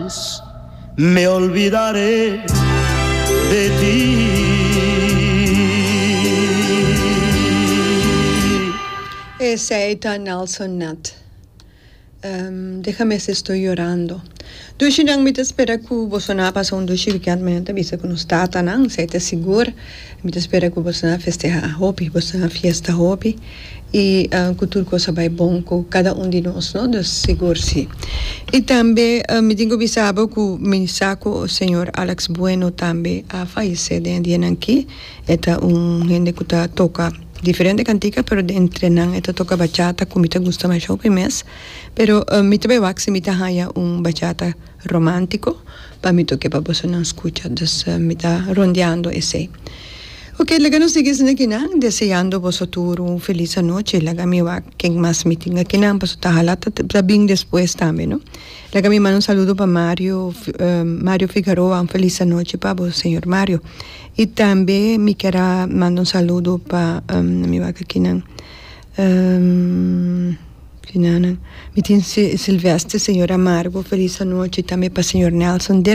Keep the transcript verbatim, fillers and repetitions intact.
Sabes, me olvidaré de ti. Esey ta Nelson Ned. Um, déjame si estoy llorando. Dushi nan, mi ta spera ku boso a pasa un dushi weekend. Mi ta bisa ku nos tata nan, esey ta sigur. Mi ta spera ku boso a festeha hopi, boso a fiesta hopi. Y uh, ku tur kos a bay bon ku kada un di nos, no? Dus sigur si. Y tambe uh, mi tin ku bisa bo ku mi sa ku señor Alex Bueno tambe a fayesé den dia aki. E ta un hende ku ta toka diferente kantika, pero entre nan e ta toka bachata, ku mi ta gusta mas hopi mes. Pero uh, mi tambe wak si mi ta haya un bachata romántiko pa mi toka pa boso nan skucha. Dus uh, mi ta rondeando esey. Ok, laga nos sigui aki nan, deseando boso tur un felis anochi. Laga mi wak ken mas mi tin aki nan, paso ta hala ta bin despues tambe, no? Laga mi manda un saludo pa Mario, uh, Mario Figueroa, un felis anochi pa bo, señor Mario. Y tambe mi kier manda un saludo pa um, mi wak aki nan. Um, mi tin Silvestre, señor Amargo, felis anochi tambe pa señor Nelson.